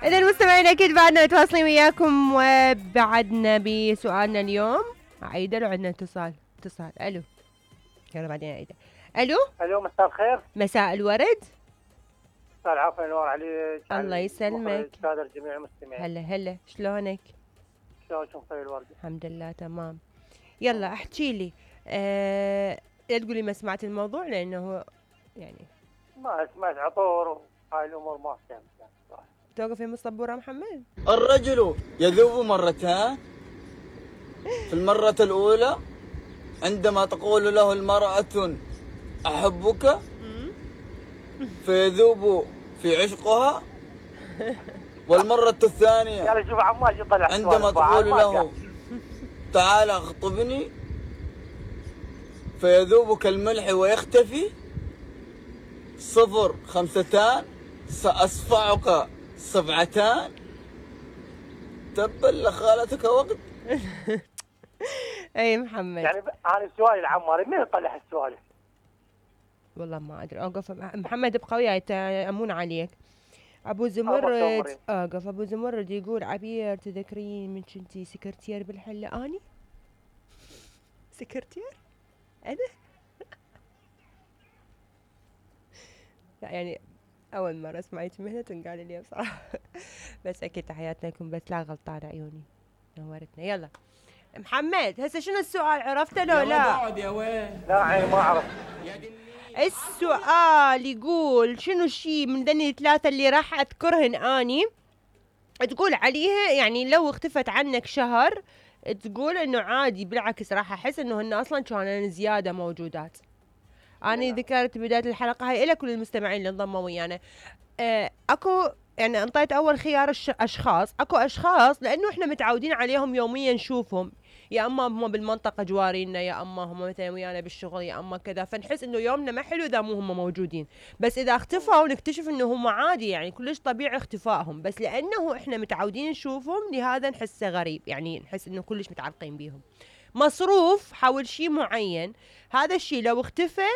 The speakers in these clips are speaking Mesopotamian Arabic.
إذا مستمعين أكيد بعدنا متواصلين وياكم وبعدنا بسؤالنا اليوم. عايدة لو عندنا اتصال ألو. يلا بعدين عايدة. ألو مساء الخير. مساء الورد. مساء العافية نور عليك. الله يسلمك. قادر جميع المستمعين. هلا شلونك؟ شلونكم طيب الورد؟ الحمد لله تمام. يلا احكي لي. لا تقولي ما سمعت الموضوع لأنه يعني ما سمعت عطور هاي الأمور ما فهمت يعني صراحة. توقف يا مصبورة محمد. الرجل يذوب مرتان. في المرة الأولى عندما تقول له المرأة أحبك فيذوب في عشقها. والمرة الثانية عندما تقول له تعال اخطبني فيذوب كالملح ويختفي. 0 5 سأصفعك 7. تبا لخالتك وقت. اي محمد يعني انا سؤالي العماري مين يطلع السؤال؟ والله ما ادري. اوقف محمد ابقى وياي يأمون عليك. ابو زمرد اوقف. ابو زمرد يقول عبير تذكرين من كنتي سكرتير بالحله اني؟ سكرتير؟ انا؟ لا يعني اول مره سمعت مهنه تنقال لي بصراحه. بس اكيد تحياتنا لكم. بس لا غلطان عيوني نورتنا. يلا محمد هسه شنو السؤال عرفته لو لا؟ يا وين؟ لا ما اعرف. السؤال يقول شنو الشيء من ذني الثلاثة اللي راح اذكرهن اني تقول عليها يعني لو اختفت عنك شهر تقول انه عادي بالعكس راح احس انه هن اصلا كانوا زيادة موجودات. انا ذكرت بداية الحلقة هاي الى كل المستمعين اللي انضموا ويانا. اكو يعني انطيت اول خيار اشخاص. اكو اشخاص لانه احنا متعودين عليهم يوميا نشوفهم، يا اما هم بالمنطقه جوارينا يا اما هم مثلا ويانا بالشغل يا اما كذا، فنحس انه يومنا ما حلو اذا مو هم موجودين. بس اذا اختفوا نكتشف انه هم عادي يعني كلش طبيعي اختفائهم، بس لانه احنا متعودين نشوفهم لهذا نحسه غريب، يعني نحس انه كلش متعلقين بيهم. مصروف حول شيء معين، هذا الشيء لو اختفى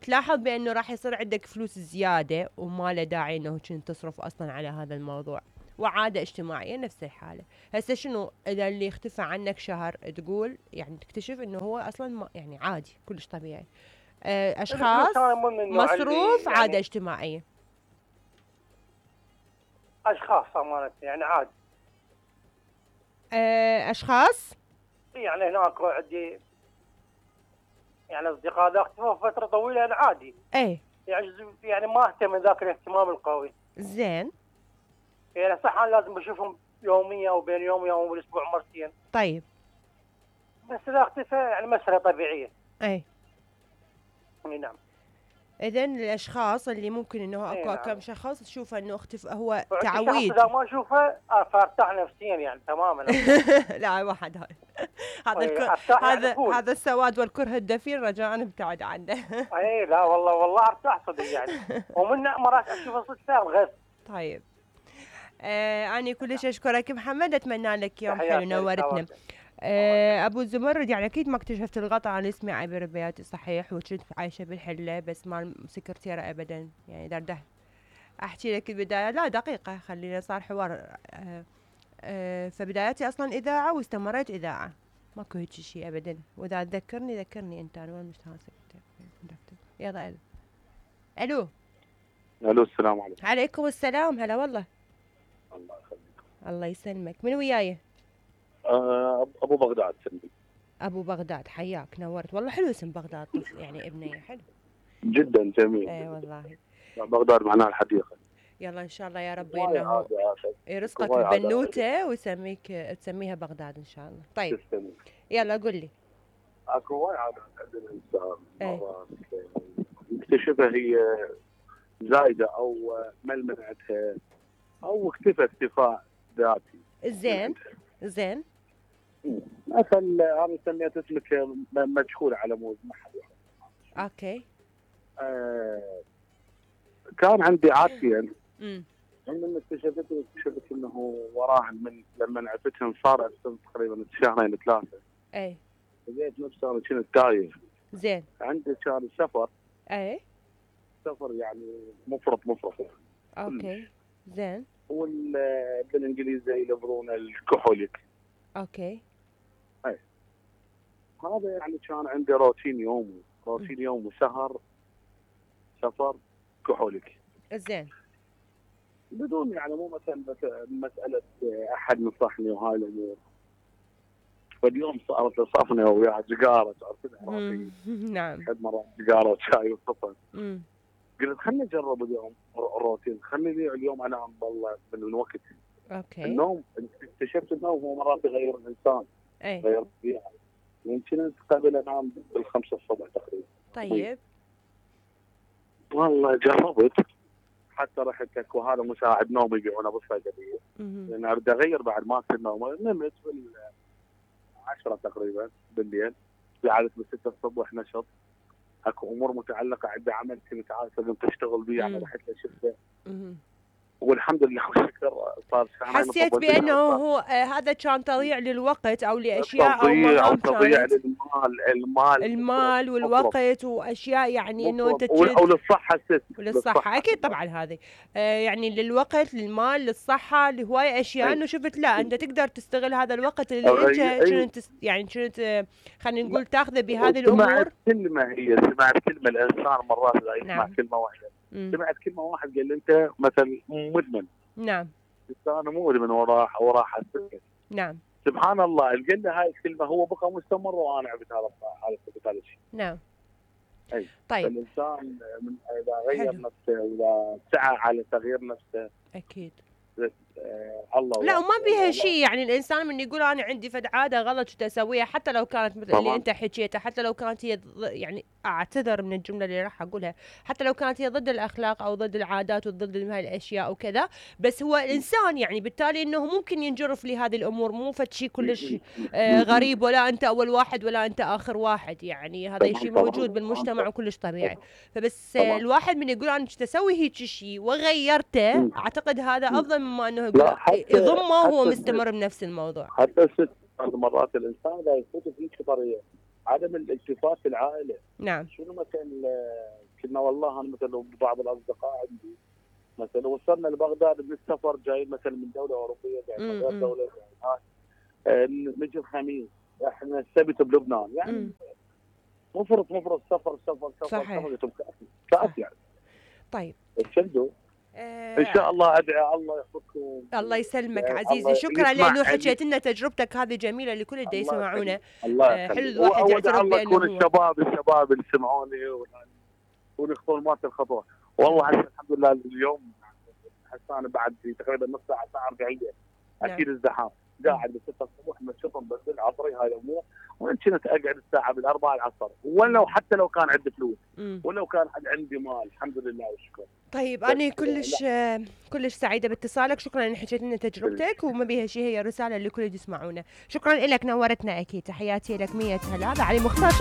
تلاحظ بانه راح يصير عندك فلوس زياده وما له داعي انه كنت تصرف اصلا على هذا الموضوع. وعاده اجتماعيه نفس الحاله. هسه شنو اذا اللي اختفى عنك شهر تقول يعني تكتشف انه هو اصلا يعني عادي كلش طبيعي. اشخاص، مصروف، يعني عاده اجتماعيه. اشخاص امانه يعني عادي. اشخاص يعني هناك عندي يعني اصدقاء ذا اختفوا فتره طويله يعني عادي. اي يعني ما اهتم ذاك الاهتمام القوي. زين. يعني صح انا لازم بشوفهم يوميا وبين يوم ويوم بالاسبوع مرتين. طيب. بس اذا اختفى يعني مسألة طبيعيه. اي نعم. اذن الاشخاص اللي ممكن انه اكو نعم. كم شخص تشوفه انه اختفى هو تعويض. اذا ما اشوفه فارتاح نفسيا يعني تماما. لا واحد هذا السواد والكره الدفين رجاء ابتعد عنه. اي لا والله ارتاح صدق يعني. ومن مرات اشوفه صدق الغث. طيب. أنا كلش أشكرك محمد، أتمنى لك يوم حلو نورتنا. أبو زمرد يعني أكيد ما اكتشفت الغلط. أنا اسمي عبير بياتي صحيح وكنت عايشة بالحلة بس ما سكرتيرة أبدا يعني درده أحكي لك البداية. لا دقيقة خلينا صار حوار. فبداياتي أصلا إذاعة واستمريت إذاعة ماكو هيك شيء أبدا. وإذا تذكرني ذكرني أنت. أنا وين مشتغل يلا ألو. السلام عليكم. عليكم السلام. هلا والله. الله يخليك. الله يسلمك. من وياي؟ ابو بغداد سلمي. ابو بغداد حياك نورت. والله حلو اسم بغداد يعني ابني حلو جدا جميل. اي والله. بغداد معناها الحديقه. يلا ان شاء الله يا رب انه يرزقك ببنوته ويسميك تسميها بغداد ان شاء الله. طيب تسلمي. يلا قل لي. اكو وايد عادات عند الانسان مرات نكتشفها هي زايده او ملمنعتها او اختفى اختفاء ذاتي. زين مثلا انا سميت اسمك مجهول على مود ما حد يعرف. اوكي. كان عندي عادتين. من اكتشفت انه وراهن من لما عرفتهم صار تقريبا شهرين 3. اي. لقيت نفسي انا كنت تايه. زين. عندي كان سفر. اي. سفر يعني مفرط. اوكي. زين. بالانجليزي يلفظونه الكحوليك. اوكي. هذا يعني كان عندي روتين يوم وسهر سفر كحوليك. زين. بدون يعني مو مثلا مساله احد نصحني وهاي الامور. فاليوم صارت لي صفنه ويا سيجاره تعرفين. نعم. حد مرات سيجاره وشاي وصفن. قلت خليني اجرب اليوم الروتين، خليني اليوم انام والله من وقت. اوكي. النوم اكتشفت النوم هو مرات يغير الانسان. غير الطبيعه. يمكن قبل انام بال5 الصبح تقريبا. طيب. والله جربت حتى رحت اكو هذا مساعد نوم يبيعونه بالصيدليه. لان اريد اغير بعد ما كنت نوم. نمت بال10 تقريبا بالليل، في عاده ب6 الصبح نشط. اكو امور متعلقه عندي عمل كنت عارف لازم تشتغل بيه يعني رحت له شفته. والحمد لله والشكر صار شهرين. حسيت بانه هو هذا كان تضييع للوقت او لاشياء او تضييع مهام تضييع كانت المال والوقت واشياء يعني انه انت وللصحه وللصحه اكيد طبعا هذه يعني للوقت للمال للصحه لهوايه اشياء. انه شفت لا انت تقدر تستغل هذا الوقت اللي انت كنت يعني كنت خلينا نقول تاخذه بهذه الامور. سمعت كلمه الانسان مرات لا يسمع كلمه واحده. سمعت كلمه واحد قال لي انت مثلا مدمن. نعم. انا مو مدمن وراح السكر. نعم. سبحان الله قال لي هاي الكلمه هو بقى مستمر وانا عبت هذا الشيء. نعم. اي. طيب. الانسان اذا غير نفسه واذا سعى على تغيير نفسه اكيد. الله لا وما بيها شيء يعني الانسان من يقول انا عندي فد عاده غلط شو اسويها حتى لو كانت مثل اللي انت حكيتها، حتى لو كانت هي يعني اعتذر من الجمله اللي راح اقولها، حتى لو كانت هي ضد الاخلاق او ضد العادات وضد هاي الاشياء وكذا، بس هو الانسان يعني بالتالي انه ممكن ينجرف لهذه الامور. مو فد شيء كلش غريب، ولا انت اول واحد ولا انت اخر واحد، يعني هذا الشيء موجود بالمجتمع وكلش طبيعي. فبس الواحد من يقول انا اسوي هيك شيء وغيرته، اعتقد هذا افضل مما انه يقول يضمه وهو مستمر بنفس الموضوع. حتى الست مرات الانسان لا يفوت في طريقه عدم الالتفات في العائله. نعم. شنو مثلا كنا والله انا مثلا بعض الاصدقاء عندي مثلا وصلنا لبغداد من السفر جاي مثلا من دوله اوروبيه جاي من غير دوله نجي الخميس احنا السبت بلبنان يعني مفرط سفر صحيح. كأس يعني. طيب. تشدوا ان شاء الله ادعي الله يحفظكم. الله يسلمك عزيزي، شكرا لانه حكيت لنا تجربتك هذه جميله لكل اللي يسمعونا. حلو الواحد يعترف بانه يكون الشباب اللي يسمعوني ونخطون مات الخطوه. والله هسه الحمد لله اليوم هسه انا بعد تقريبا نص ساعه 40 اكيد الزحام قاعد ب6 الصبح مشطم بدل عصري هاي الامور، وان كنت اقعد الساعه بال4 العصر ولو حتى لو كان عندي فلوس ولو كان عندي مال الحمد لله والشكر. طيب انا كلش سعيده باتصالك، شكرا ان حكيت لنا تجربتك وما بيها شيء، هي رساله لكل اللي يسمعونا. شكرا لك، نورتنا اكيد. تحياتي لك 100 هلا. هذا علي مختار.